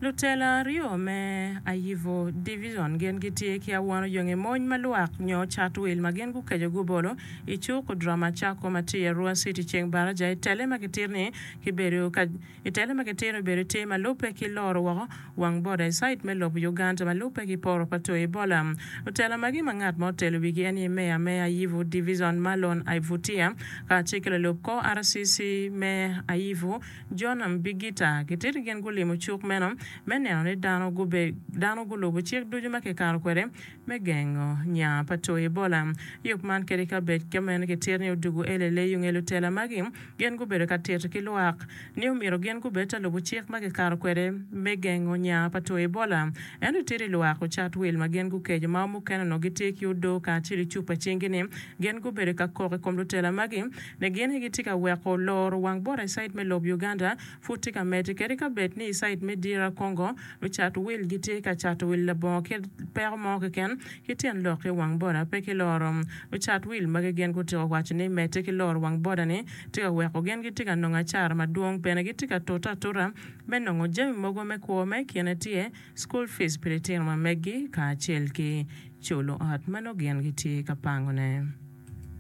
Lutela aryo me Ayivo Divizon gin gitye ki awano yonge mony ma lwak nyo cat wil ma gin gukeco gubolo i cuk Odrama Cako ma tye i Arua City ceng baraja i tele ma gitito ni kibedo ka i tele ma gitito ni obedo tye ma lubbe ki loro woko wang boda i cait me lobo Uganda ma lubbe ki poro pa two Ebola. Lutela magi ma ngat ma otelo wigi en aye Meya me Ayivu Divizon Marlon Aivutia kacel ki lalub kor RCC me Ayivu John Mbigita gitito gin gulimo cuk meno me neno ni dano dano gulubo cik ducu ma kikato kwede me gengo nya pa two Ebola. Yub man kadi ka bed ka meno kitito ni odugu LLA nge lutela magi gin gubedo ka tito ki lwak ni omyero gin gubed ta lubo cik ma kikato kwede me gengo nya pa two Ebola. Ento itito i lwak ocat wil ma gin gukeco ma mukene onongo gitye ki odoo kacel ki cupa i cingi ni gin gubedo ka kok i kom lutela magi ni gin aye gitye ka weko loro wang bota i cait me lob Uganda pud tye ka medde kadi ka bed ni i cait me DR Congo lucat wil gitye ka cato wil labongo kit peko mo keken ki tyen lok ki wang boda pe ki loro. Lucat wil magi gin gutyeko waco ni medde ki loro wang boda ni tye ka weko gin gitye ka nongo acara madwong bene gitye ka tute atuta me nongo jami mogo me kwo ma i kine tye school fees pi litino ma meggi kacel ki culo ot ma nongo gin gitye ka pangone.